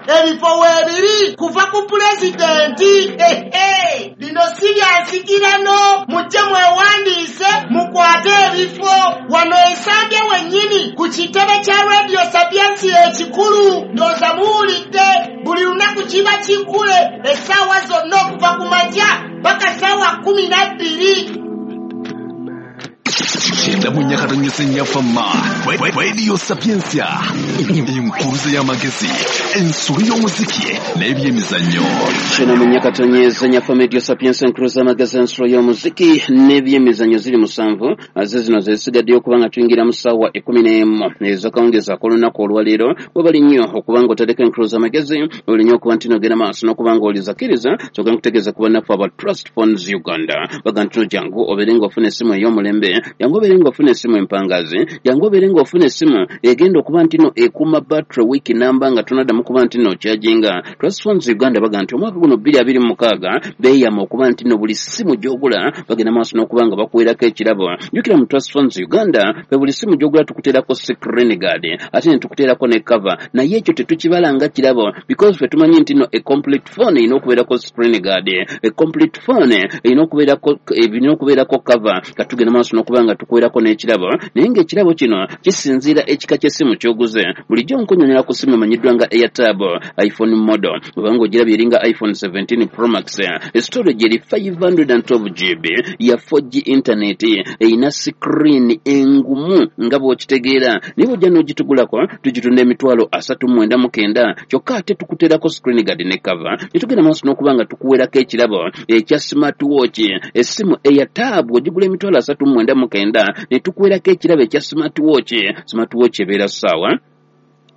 Ebifo weebiri kuva ku pulezidenti. Ehe, bino si bya nsikirano. Mujje mwewandiise, mukwate ebifo wano Ensambya wennyini ku kitebe kya Radio Sapientia ekikulu. Ndowooza muwulidde, buli lunaku kiba kiggule essaawa zonna okuva ku makya paka ssaawa 12. 94.4 Fama Radio Sapientia, enkuruze y'amagezi, ensolo y'omuziki n'ebyemizannyo. 94.4 Fama Radio Sapientia, enkuruze y'amagezi, ensolo y'omuziki n'ebyemizannyo. Ziri 7 ze zino zesigaddeyo okuba nga tuyingira mu ssaawa 11 ez'akawungeezi ak'olunaku olwaleero. Webali nnyo okuba nga oteddeko enkuruze y'amagezi, oli nnyo okuba nti nogenda maaso n'okuba nga olizakiriza. Kyokka nkutegeeza ku bannaffe aba Trust Phones Uganda, baga nti jangu obeere ng'ofuna essimu ey'omulembe, jangu obeere ng'ofuna essimu empangazi, jangu obeere ng'ofuna essimu egenda okuba nti no ekuuma battery wiiki namba nga tonaddamu kuba nti no okyajinga. Trust Phones Uganda baga nti omwaka guno 2026 beeyama okuba nti no buli ssimu gy'ogula bagenda maaso n'okuba nga bakuweerako ekirabo. Jjukira mu Trust Phones Uganda fe buli ssimu gy'ogula tukuteerako screen guard, ate ne tukuteerako ne cover, naye ekyo tetukibala nga kirabo because fe tumanyi nti no a complete phone erina okubeerako screen guard, a complete phone erina okubeerako cover. Katugenda maaso n'okuba nga tukuweerako n'ekirabo, naye ng'ekirabo kino kisinziira ekika ky'essimu ky'oguze. Bulijjo nkunnyonnyola ku ssimu emanyiddwa nga Airtab iPhone model, obanga ogirabye eringa iPhone 17 Pro Max, storage eri 512 GB ya 4G internet, erina screen engumu nga bw'okitegeera. Naye bw'ojja n'ogitugulako tugitunda emitwalo 39,900, kyokka ate tukuteerako screen guard ne cover. Ne tugenda maaso n'okuba nga tukuweerako ekirabo ekya smart watch, essimu Airtab ogigula emitwalo 39,900, ne tukuweerako ekirabo ekya smart watch. Smart watch ebeera ssaawa,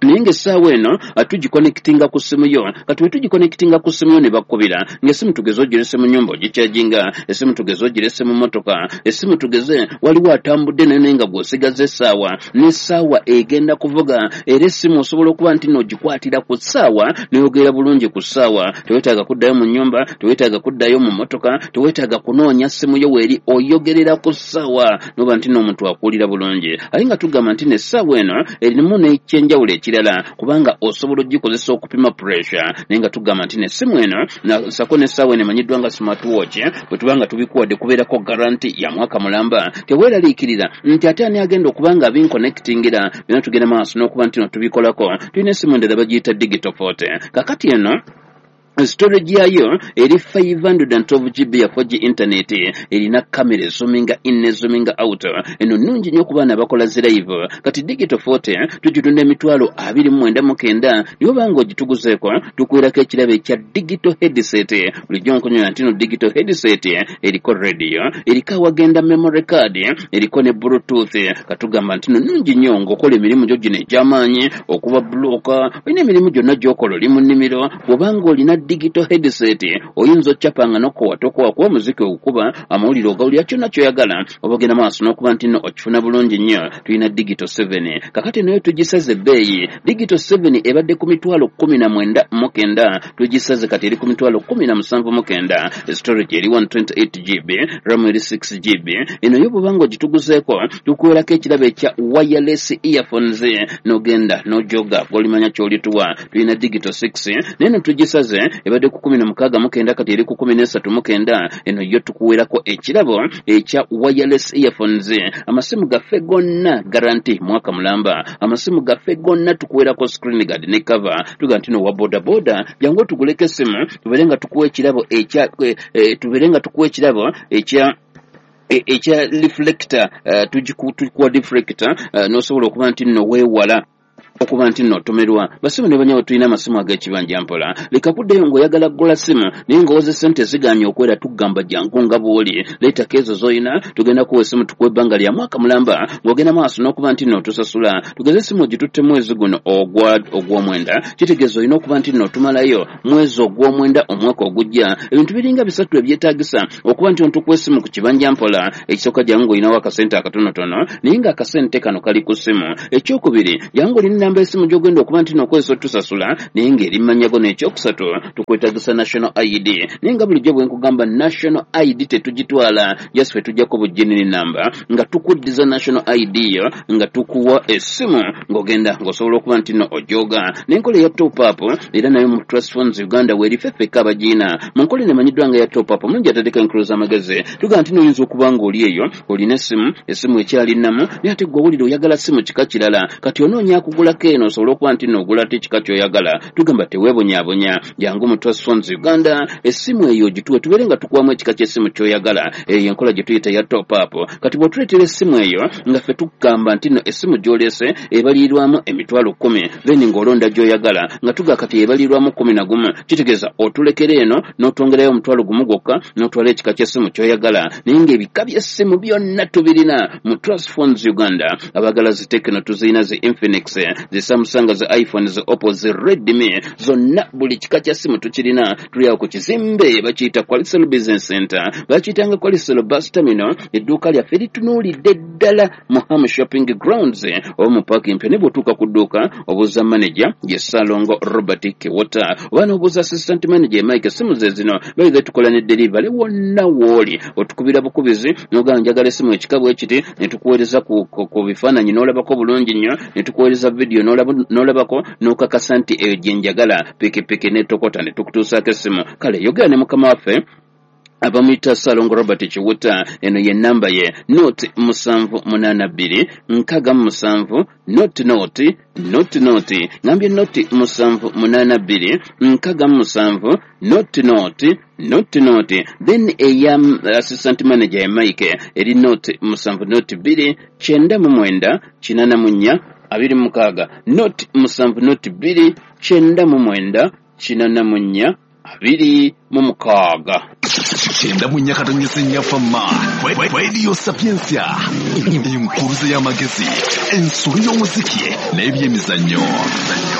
naye ng'essaawa eno tugiconnectinga ku ssimu yo. Kati bwe tugiconnectinga ku ssimu yo ne bakkubira, ng'essimu tugeze ogirese mu nnyumba ogikyajinga, essimu tugeze ogirese mu mmotoka, essimu tugeze waliwo atambudde nayo naye nga gw'osigaza essaawa, n'essaawa egenda kuvuga. Era essimu osobola okuba nti n'ogikwatira ku ssaawa n'oyogera bulungi ku ssaawa. Teweetaaga kuddayo mu nnyumba, teweetaaga kuddayo mu mmotoka, teweetaaga kunoonya ssimu yo weeri, oyogerera ku ssaawa n'oba nti n'omuntu akuwulira bulungi. Ate nga tugamba nti n'essaawa eno erimu n'ekyenjawulo ekirala, kubanga osobola ogikozesa okupima pressure. Naye nga tugamba nti n'essimu eno sako n'essaawa eno emanyiddwa nga smart watch, bwe tuba nga tubikuwadde kubeerako guarantee ya mwaka mulamba. Teweeraliikirira nti ate ani agenda okuba nga binconnectingira. Byonna tugenda maaso n'okuba nti no tubikolako. Tulina essimu endala bagiyita Digital 40. Kakati eno storage yayo eri 512 GB ya 4G internet, erina kamera ezoominga in nezoominga out. Eno nnungi nnyo ku baana abakola zi live. Kati Digital 40 tugitunda emitwalo 29,900, naye obanga ogituguzeeko tukuweerako ekirabo ekya digital headset. Bulijjo nkunyola nti no digital headset eriko radio, eriko awagenda memory card, eriko ne bluetooth. Katugamba nti no nnungi nnyo ng'okola emirimu gyo gino egy'amaanyi, okuba bulooka, olina emirimu gyonna gy'okola oli mu nnimiro. Bw'obanga olina digital headset oyinza occapanga n'okowa tokowa, kuba omuziki ogukuba, amawulire ogawulira, kyonna ky'oyagala oba ogenda maaso n'okuba nti nno okifuna bulungi nnyo. Tulina Digital 7. Kakati nayo tugisaze ebbeeyi. Digital 7 ebadde ku mitwalo 19,900, tugisaze kati eri ku mitwalo 17,900. Storage eri 128 GB, RAM eri 6 GB. Eno yo bw'obanga ogituguzeeko tukuweerako ekirabo ekya wireless earphones, n'ogenda n'ojoga gw'olimanya ky'olituwa. Tulina Digital 6, naye no tugisaze, ebadde ku 16,900, kati eri ku 13,900. Eno yo tukuweerako ekirabo ekya wireless earphones. Amasimu gaffe gonna guarantee mwaka mulamba. Amasimu gaffe gonna tukuweerako screen guard ne cover. Tuga nti no wa boda boda jangu otuguleko essimu, tubeere nga tukuwa ekirabo ekya tubeere nga tukuwa ekirabo ekya reflector. Tukuwa reflector n'osobola okuba nti nno weewala okuba nti nno otomerwa. Basimu ne banyawo, tulina amasimu ag'ekibanja mpola. Leka kuddayo ng'oyagala kugula simu naye ng'owoza sente ziganye okwera. Tugamba jangu nga bw'oli, leetako ezo z'olina, tugenda kuwa essimu, tukuwa ebbanga lya mwaka mulamba ng'ogenda maaso n'okuba nti nno otusasula. Tugeze essimu ogitutte mwezi guno ogw'omwenda, kitegeeza olina okuba nti nno otumalayo mwezi ogw'omwenda omwaka ogujja. Ebintu biringa bisatu ebyetaagisa okuba nti ontukuwa essimu ku kibanja mpola. Ekisooka, jangu ng'olinawo akasente akatonotono naye ng'akasente kano kali ku ssimu. Ekyokubiri, jangu olina Ennamba esimu gy'ogenda okuba nti n'okozesa otusasula naye ng'eri mmanyago. N'ekyokusatu, tukwetagisa national ID, naye nga bulijjo bwe nkugamba, national ID tetugitwala, just ffe tujjako bujinini namba nga tukuddiza national ID yo, nga tukuwa essimu ng'ogenda ng'osobola okuba nti no ojooga. N'enkola eya top up era nayo mu Trust Phones Uganda weeri, ffe ffekka abagiina mu nkola eno emanyiddwa nga ya top up. Omulungi atadeko enkulu z'amagezi, tugamba nti noyinza okuba ng'oli eyo olina essimu, essimu ekyali nnamu, naye ate gwe owulira oyagala simu kika kirala. Kati onoonya akugulako eno osobole okuba nti noogula ate ekika ky'oyagala. Tugamba teweebonyaabonya, jangu mu Trust Phones Uganda, essimu eyo ogituwe tubeere nga tukuwamu ekika ky'essimu ky'oyagala. Eyo enkola gye tuyita ya top up. Kati bw'otuleetera essimu eyo nga ffe tukugamba nti nno essimu gy'oleese ebalirirwamu 100,000, then ng'olonda gy'oyagala, nga tuga kati ebalirirwamu 11, kitegeeza otulekera eno n'otwongerayo 10,000 gwokka n'otwala ekika ky'essimu ky'oyagala. Naye ng'ebika by'essimu byonna tubirina mu Trust Phones Uganda. Abagala zi Tecno tuzirina, zi Infinix, zi Samsung, zi iPhone, zi Oppo, zi Redmi, zonna buli kika kya simu tukirina. Tuli awo ku kizimbe bakiyita Qualisel Business Center, bakiyitanga Qualisel Bus Terminal. Edduuka lyaffe litunuulidde ddala mu Ham Shopping Grounds oba mu paaki empya. Ne bw'otuuka ku dduuka obuuza manager, ye Ssalongo Robert Kiwota, oba n'obuuza assistant manager Mike. Essimu ze zino bayize, tukola ne delivery wonna w'oli. Otukubira bukubizi n'ogamba njagala essimu ekika bwe kiti, ne tukuweereza ku bifaananyi n'olabako bulungi nnyo, ne tukuweereza vidiyo n'olabako n'okakasa nti eyo gye njagala, pikipiki n'etokota ne tukutuusaako essimu. Kale yogera ne mukama waffe abamuyita Ssalongo Robert Kiwuta. Eno ye namba ye, 078 67 00 00. Ngambye 0782 67 00 00. Then eya assistant manager ya Mike eri 070 299 84 26, 070 299 84 26. 94.4 Fama Radio Sapientia, enkuruze y'amagezi, ensolo y'omuziki n'ebyemizannyo.